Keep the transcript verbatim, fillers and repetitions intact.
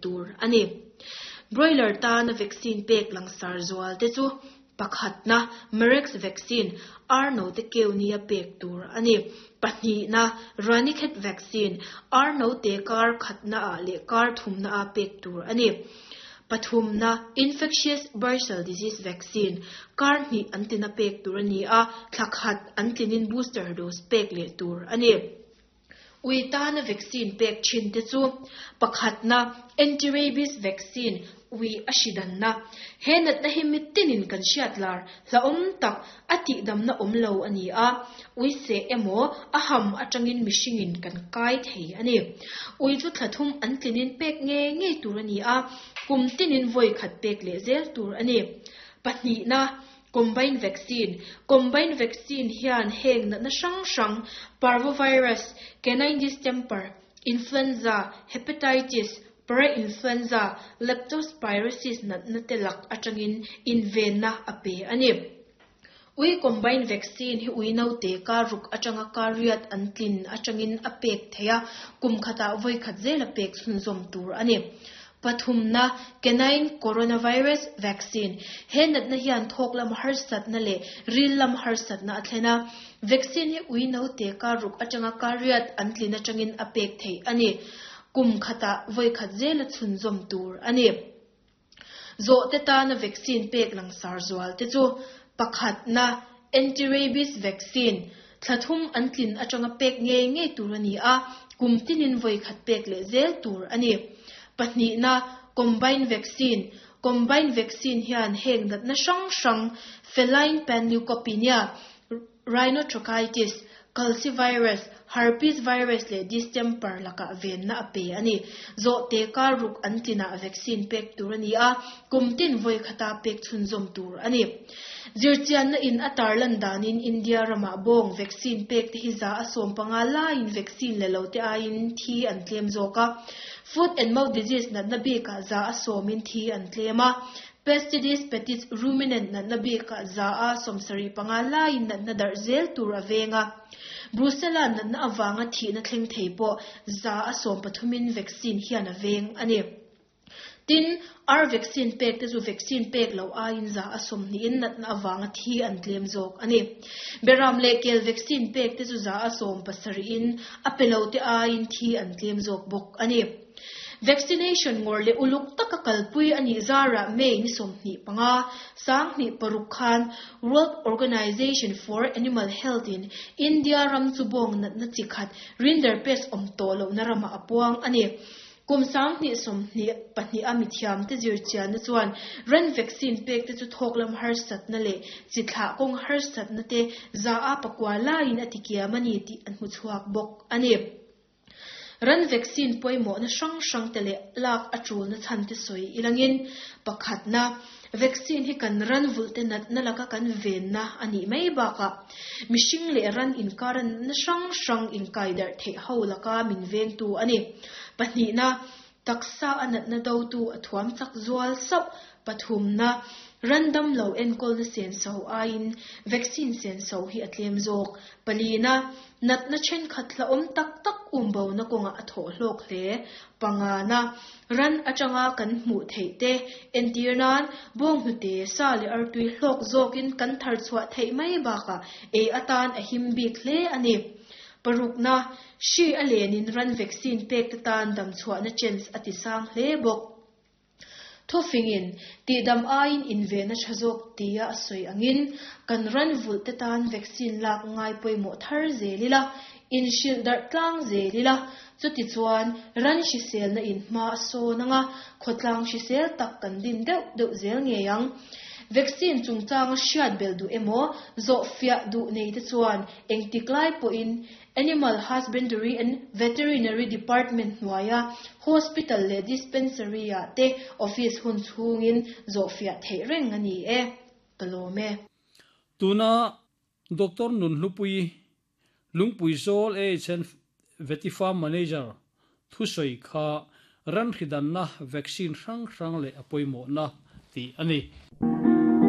tur a ni. Broiler tana vaccine pek langsar zual te chu pakhatna Marek's vaccine ar note keu nia pek tur a ni. Pahnihna Ranikhet vaccine ar note kar khatna ah leh kar thumna a pek tur a ni. Pathumna infectious bursal disease vaccine kar hnih an tina pek tur a ni a, thlakhat an tlinin booster dose pek leh tur a ni. Ui tana vaccine pek thin te chu pakhatna anti-rabies vaccine ui a hridanna he natna hi mitinin kan hriat lar hlaawm tak a tihdamna awm lo a ni a, ui seh emaw a ham atangin mihringin kan kai thei a ni. Ui chu thlathum an tlinin pek nge ngei tur a ni a, kum tinin vawi khat pek leh zel tur a ni. Pahnihna combined vaccine. Combined vaccine hian heng natna hrang hrang parvovirus, canine distemper, influenza, hepatitis, parainfluenza, leptospirosis natna te lak atangin invenna a pe a ni. Ui combined vaccine hi ui note ka ruk atanga ka riat an tlin atangin a pek theia kum khata vawi khat zel a pek chhunzawm tur a ni. Pathumna canine coronavirus vaccine he natna hian thawk lam harsatna leh ril lam harsatna a thlena vaccine hi ui note ka ruk atanga ka riat an tlin atangin a pek thei a ni. Kum khata vawi khat zel a chhunzawm tur a ni. Zawh te tana vaccine pek langsar zual te chu pakhatna anti-rabies vaccine thlathum an tlin atanga pek nge nge tur a ni a, kum tinin vawi khat pek leh zel tur a ni. Pahnihna combined vaccine. Combined vaccine hian heng natna hrang hrang feline panleukopenia, rhinotracheitis, calicivirus, herpes virus leh distemper laka venna a pe a ni. Zawh te kar ruk an tlina vaccine pek tur a ni a, kum tin vawi khata pek chhunzawm tur a ni. Zirchianna in a tarlan danin India rama bawng vaccine pek te hi za a sawm panga laiin vaccine le lo te aiin thi an tlem zawk a. Foot and mouth disease natna bikah za a sawmin thi an tlem a. Pestitis petit ruminant natna bikah za a sawmsarih panga laiin natna darh zel tur a venga. Brucella natna awanga thihna thleng thei pawh za a sawm pathumin vaccine hian a veng a ni. Tin, R vaccine pek te chu vaccine pek lo aiin za a sawmhnihin natna awanga thi an tlem zawk a ni. Beram leh kel vaccine pek te chu za a sawm pasarihin a pe lo te aiin thi an tlem zawk bawk a ni. Vaccination ngawr leh uluk taka kalpui ani zara May ni sawmhnih panga sanghnih paruk khan World Organization for Animal Health in India ram chu bawng natna chi khat rinderpest awm tawh lohna rama a puang a ni. Kum sanghnih sawmhnih pahnih a mithiam te zirchianna chuan ran vaccine pek te chu thawk lam harsatna leh chi thlah kawng harsatna te za a pakua laiin a tikiam a ni tih an hmu chhuak bawk a ni. Ran vaccine pawimawh na hrang hrang te leh lak a tul na chhan te sawi ilangin pakhatna vaccine hi kan ran vulh te natna laka kan venna ani mai bakah mihring leh ran inkaran na hrang hrang inkai darh theih ho laka min veng tu ani. Pahnihna taksa a natna do tu a thuam chak zual sauh. Pathumna random lo enkawl na sen so aiin vaccine sen so hi a tlem zawk. Palina natna then khat hla awm tak tak umbo na kawnga a thawh hlawk hle. Pangana ran atanga kan hmuh theih te entir nan bawng hnute sa leh artui hlawk zawkin kan thar chhuah theih mai bakah ei atan a him bik hle a ni. Parukna hri a lenin ran vaccine pek te tan dam chhuahna chance a ti sang hle bawk. Thufingin tihdam aiin invena tha zawk tia a sawi angin kan ran vulh te tan vaccine lak ngai pawimawh thar zelila in hrilh darh tlang zelila chuti chuan ran hriselna in hma a sawn anga khawtlang hrisel tak kan din deuh deuh zel ngei ang. Vaccine chungchanga hriat bel duh emaw zawh fiah duh nei te chuan engtik lai pawhin Animal Husbandry and Veterinary Department hnuaia hospital leh dispensary ah te office hun chhungin zawh fiah theih reng a ni e. Ka lawm e. Tuna Doctor Nunhlupui Lungpui Zawl A H N Veti Farm Manager thusoi kha ran hridanna vaccine hrang hrang leh a pawimawh na ti ani.